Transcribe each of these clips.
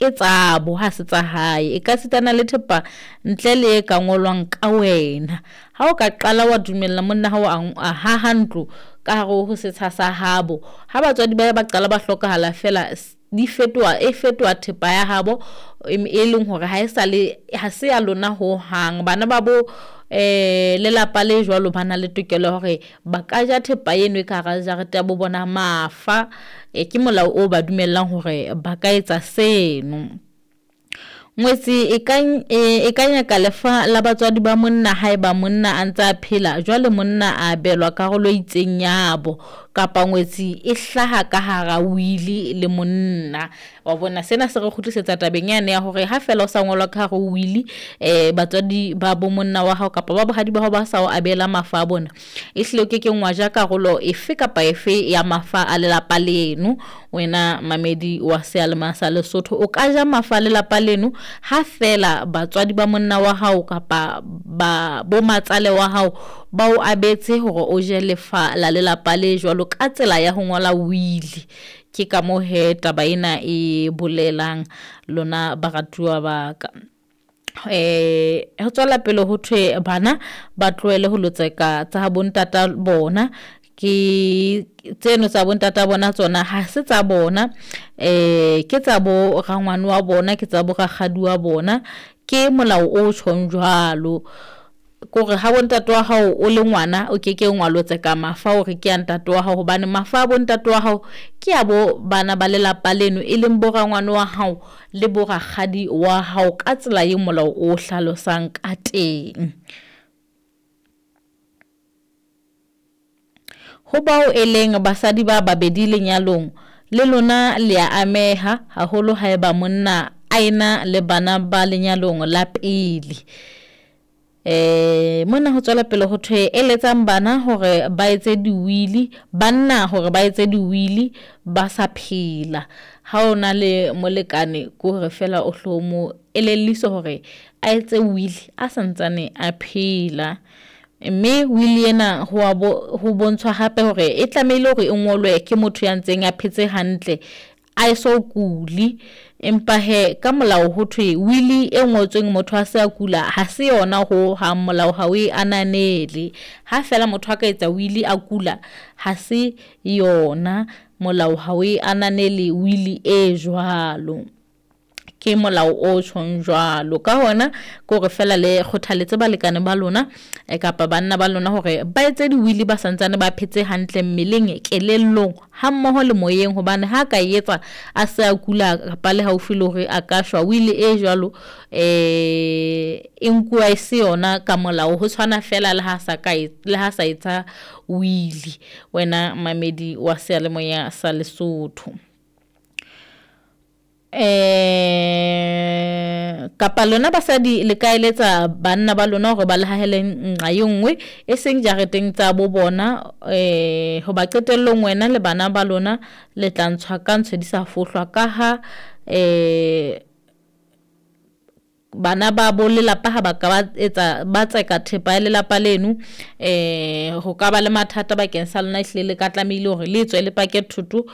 ke tsabo, ha se tsa hae. E ka sitana le thepa ntle le e ka ngolwang ka wena. Ha o ka qala wa dumella monna hao a haha ntlo ka hare ho setsha sa habo, ha batswadi ba ba qala ba hlokahala fela di fetoha, e fetoha thepa ya habo e leng hore ha e sa le ha se ya lona ho hang. Bana ba bo lelapa le jwalo ba na le tokelo ya hore ba ka ja thepa eno e ka hara jarete ya bo bona mafa. Ke molao o ba dumellang hore ba ka etsa seno. Ngwetsi e ka nyaka lefa la batswadi ba monna haeba monna a ntse a phela, jwale monna a abelwa karolo e itseng yabo, kapa ngwetsi e hlaha ka hara wili le monna. Wa bona sena se re kgutlisetsa tabeng yane ya hore ha fela o sa ngolwa ka hare ho wili, batswadi ba bo monna wa hao kapa ba bohadi ba hao ba sa o abela mafa a bona, e hlile o kekeng wa ja karolo efe kapa efe ya mafa a lelapa leno. Wena mamedi wa seyalemoya sa Lesotho, o ka ja mafa a lelapa leno ha fela batswadi ba monna wa hao kapa ba bo matsale wa hao ba o abetse hore o je lefa la lelapa le jwalo ka tsela ya ho ngola wili. Ke ka moo he taba ena e bolelang lona baratuwa ba ka. Ho tswela pele ho thwe bana ba tlohele ho lotseka tsa bontata bona, ke tseno tsa bontata bona tsona ha se tsa bona, ke tsa bo rangwane wa bona, ke tsa bo rakgadi wa bona, ke molao o tjhong jwalo. Kore ha bontate wa hao o le ngwana o kekeng wa lotseka mafa hore ke ya ntate wa hao, hobane mafa a bontate wa hao ke ya bo bana ba lelapa leno, e leng bo rangwane wa hao le bo rakgadi wa hao ka tsela e molao o hlalosang ka teng. Ho bao e leng basadi ba babedi lenyalong, le lona le a ameha haholo haeba monna a ena le bana ba lenyalong la pele. Mona ho tswela pele ho thwe eletsang bana hore ba etse diwili, banna hore ba etse diwili ba sa phela. Ha o na le molekane ke hore fela o hlo mo elelliswe hore a etse wili a santsane a phela. Mme wili ena ho bontshwa hape hore e tlamehile hore e ngolwe ke motho ya ntseng a phetse hantle, a eso kuli. Empa he ka molao ho thwe wili e ngotsweng motho a se a kula ha se yona ho hang, molao ha o e ananele. Ha fela motho a ka etsa wili a kula ha se yona, molao ha o e ananele wili e jwalo. Ke molao o tjhong jwalo. Ka hona ke hore fela le kgothaletse balekane ba lona kapa banna ba lona hore ba etse diwili ba santsane ba phetse hantle mmeleng, kelellong ha mmoho le moyeng, hobane ha ka etsa a se a kula kapa le haufi le hore a ka shwa, wili e jwalo e nkuwa e se yona ka molao, ho tshwana fela le ha sa ka le ha sa etsa wili. Wena mamedi wa seyalemoya sa Lesotho. Kapa lona basadi le ka eletsa banna ba lona hore ba le hahele nqa e nngwe e seng jareteng tsa bo bona, hoba qetellong wena le bana ba lona le tla ntshwa ka ntshwe di sa fohlwa, ka ha bana ba bo lelapa ha ba ka ba etsa ba tseka thepa ya lelapa leno, ho ka ba le mathata bakeng sa lona, ehlile le ka tlamehile hore le tswe le pake thoto,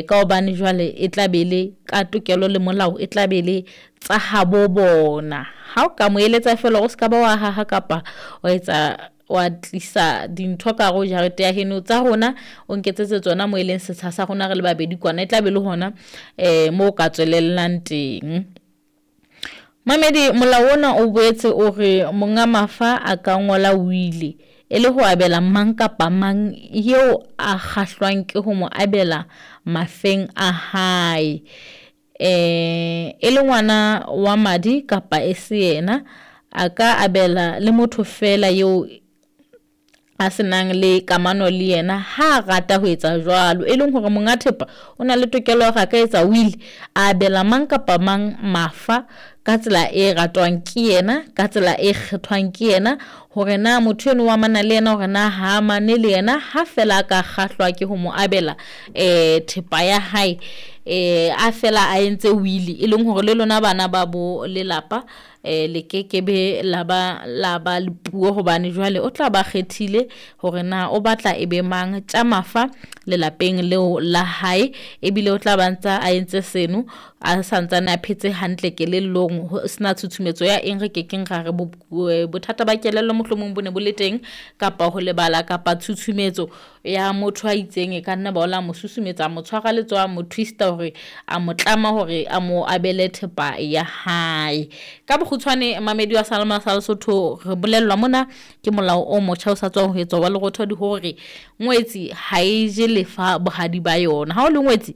ka hobane jwale e tla be le ka tokelo le molao, e tla be le tsa habo bona. Ha o ka mo eletsa fela o ska ba wa haha kapa wa etsa wa tlisa dintho ka hare ho jarete ya heno tsa rona, o nketsetse tsona mo e leng setsha sa rona re le babedi kwana, e tla be le hona moo ka tswelellang teng. Mamedi, molao ona o boetse o re monga mafa a ka ngola wili e le ho abela mang kapa mang eo a kgahlwang ke ho mo abela mafeng a hae, e le ngwana wa madi kapa e se yena, a ka abela le motho fela eo a senang le kamano le yena ha a rata ho etsa jwalo, e leng hore monga thepa o na le tokelo ya hore a ka etsa wili a abela mang kapa mang mafa ka tsela e ratwang ke yena, ka tsela e kgethwang ke yena, hore na motho eno wa amana le yena, hore na ha amane le yena, ha fela a ka kgahlwa ke ho mo abela thepa ya hae, a fela a entse wili, e leng hore le lona bana ba bo lelapa le kekebe la ba la ba le puo, hobane jwale o tla ba kgethile hore na o batla e be mang tja mafa lelapeng leo la hae, ebile o tla ba ntsa a entse seno a santsane a phetse hantle kelellong, ho sena tshutshumetso ya eng re kekeng ra re bothata ba kelello mohlomong bo ne bo le teng, kapa ho lebala, kapa tshutshumetso ya motho a itseng e ka nna ba o la mo susumetsa, mo tshwara letsoho, a mo twista hore a mo tlama hore a mo abele thepa ya hae. Ka bokgutshwane, mamedi wa Salma sa Lesotho, re bolellwa mona ke molao o motjha o sa tswang ho etswa wa Lerothodi hore ngwetsi ha e je lefa bohadi ba yona. Ha o le ngwetsi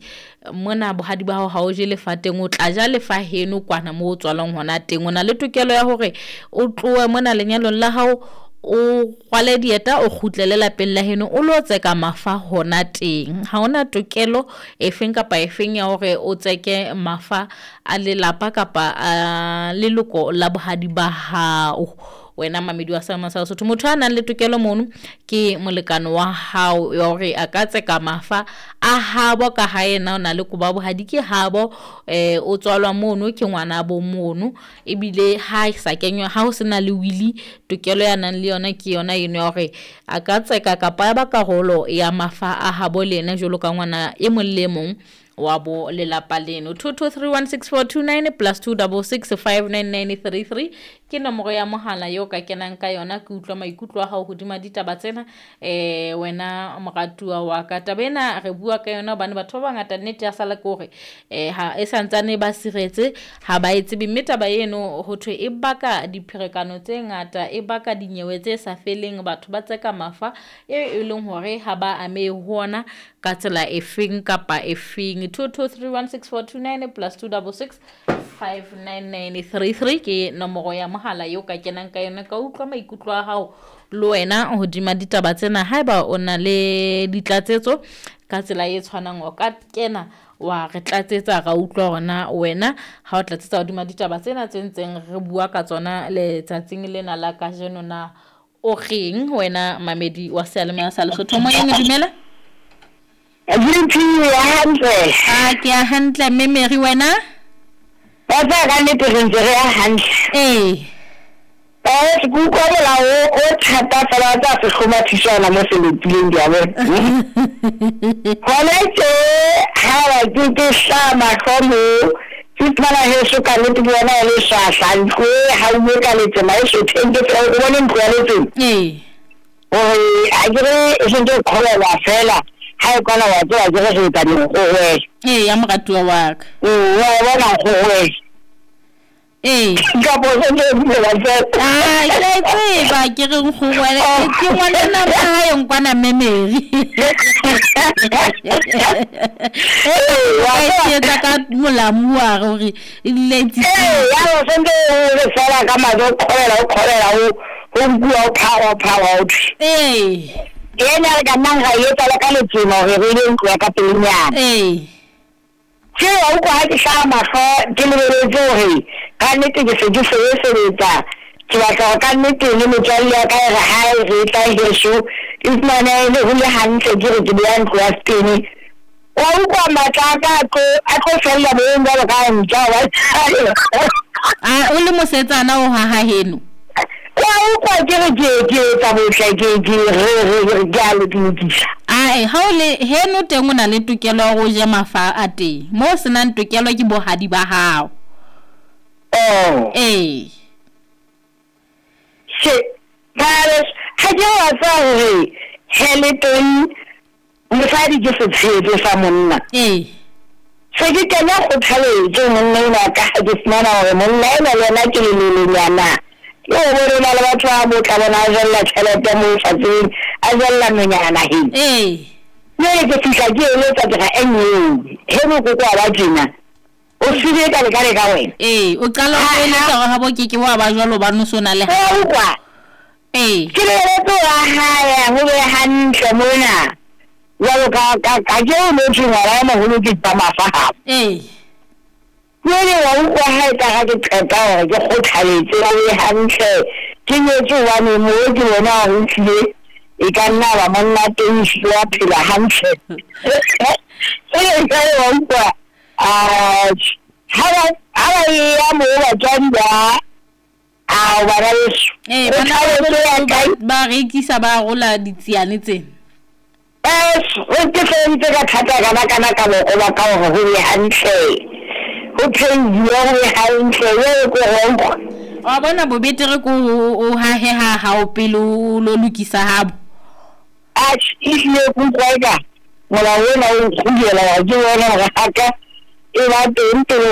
mona bohadi ba hao ha o je lefa teng, o tla ja lefa heno kwana moo o tswalwang hona teng. O na le tokelo ya hore o tlohe mona lenyalong la hao, o rwale dieta, o kgutlele lapeng la heno, o lo tseka mafa hona teng. Ha hona tokelo efeng kapa efeng ya hore o tseke mafa a lelapa kapa a leloko la bohadi ba hao. Wena mamedi wa Salma sa Lesotho, motho a nang le tokelo mono ke molekane wa hao ya hore a ka tseka mafa a habo, ka ha yena o na le koba bohadi ke habo, o tswalwa mono, ke ngwana bo mono, ebile ha e sa kenywa, ha ho sena le wili, tokelo ya nang le yona ke yona eno ya hore a ka tseka kapa ya ba karolo ya mafa a habo le yena jwalo ka ngwana e mong le mong wa bo lelapa leno. 22316429 plus 26659933 ke nomoro ya mohala eo ka kenang ka yona. Ke utlwa maikutlo a hao hodima ditaba tsena, wena moratuwa wa ka. Taba ena re bua ka yona hobane batho ba bangata nnete ya sala ke hore ha e santsane ba siretse, ha ba e tsebe, mme taba eno ho thwe e baka dipherekano tse ngata, e baka dinyewe tse sa feleng, batho ba tseka mafa e leng hore ha ba amehe ho ona ka tsela efeng kapa efeng. 22316429 plus 26659933 ke nomoro ya mohala eo ka kenang ka yona, ka utlwa maikutlo a hao le wena hodima ditaba tsena. Haeba o na le ditlatsetso ka tsela e tshwanang, o ka kena wa re tlatsetsa, ra utlwa hore na wena ha o tlatsetsa hodima ditaba tsena tse ntseng re bua ka tsona letsatsing lena la kajeno, na o reng wena mamedi wa Seyalemoya sa Lesotho? Moyeng, dumela. Ke hantle. A ke a hantle mme Mary, wena? Ba tsa ka nnete re ntse re ya hantle. Ee. Ke utlwa molao o thata fela tsa se hlomathisana mo selepileng, di a bona. Hona tje ha ba ke ke hlaha mahlo mo, ke fumana heso ka nnete ke bona e le hlahla, ntlo e hauwe ka letsema e sotheng, ke fela o bone ntlo ya letsema. Ee. Hore ha ke re e sentse e kgolelwa fela, ha e kwana wa tseba ke re re etsa menkgohwele. Ee, ya moratuwa wa ka. Wa e bona nkgohwele. Ee. Kapa o sentse o dumela fela. Ah, ke a e tseba ke re nkgohwele, ke ngwanana wa hae nkwana mme Mary. Ee, etsa ka molamu wa re hore e dule e tsitsitse. Ee, ya o sentse o re fela ka madi, o kgolela, o kgolela, o nkuwa, o phawa, o phawa, o thwe. Ee. Ena re ka nnang ra etsa le ka letsema hore re be ntlo ya ka pelenyana. Ee. Ke wa utlwa ha ke hlaha mahlo, ke lebeletse hore ka nnete ke se ke sebetsa, ke batla hore ka nnete le metswalle ya ka e re ha e re tla heso, e fumane e le ho le hantle, ke re ke beha ntlo ya setene. Wa utlwa matla a ka a tlo fella moyeng jwalo ka ntja. A o le mosetsana o haha heno. Wa utlwa ke re ke etsa botle, ke re ke a lokisa. Ae, ha o le heno teng o na le tokelo ya ho ja mafa a teng. Moo senang tokelo ke bohadi ba hao. Oh. Ee. Se, ha ke wa tseba hore he le teng mosadi ke setshepe sa monna. Ee. Se ke kenya kgothaletso monna enwa ka ha ke fumana hore monna enwa le yena ke lelelenyana. Ke o bone o na le batho ba botla bona a jella tjhelete moo sa tsebeng, a jella nonyana he. Ee. Jwale ke fihla ke eletsa ke ra e nngwe, he mokoko wa ba tjena. O sile ka lekane ka wena. Ee, o qala ho eletsa hore ha bo ke ke wa ba jwalo hobane o so na le. Wa utlwa? Ee. Ke lebeletse wa hae ho be hantle mona. Jwalo ka ke o motho ngwana ya moholo ke tsa mafa hape. Ee. Jwale wa Utlwa ha e tla ha ke qeta hore ke kgothaletse ho be hantle, ke nyetswe hobane moo ke bona hore ehlile e ka nna ba monna teng ehlile wa phela hantle. Ebe jwale wa utlwa, atjhe, ha ba ha ba eya moo batswadi ba, ao bana beso, Ee, bana ba kgothaletso ya ka ba rekisa ba rola ditsiane tsena. Ke sebeditse ka thata ka ba ka ba ka boko ba ka hore ho be hantle, ho pheuwe ho be hantle, jwale ke hore wa utlwa. Wa bona bo betere ko o hahe ha hao pele o lo lokisa habo. Atjhe, ehlile ke utlwa eka molao ona o nkgulela hore ke bone hore haka e ba teng pele.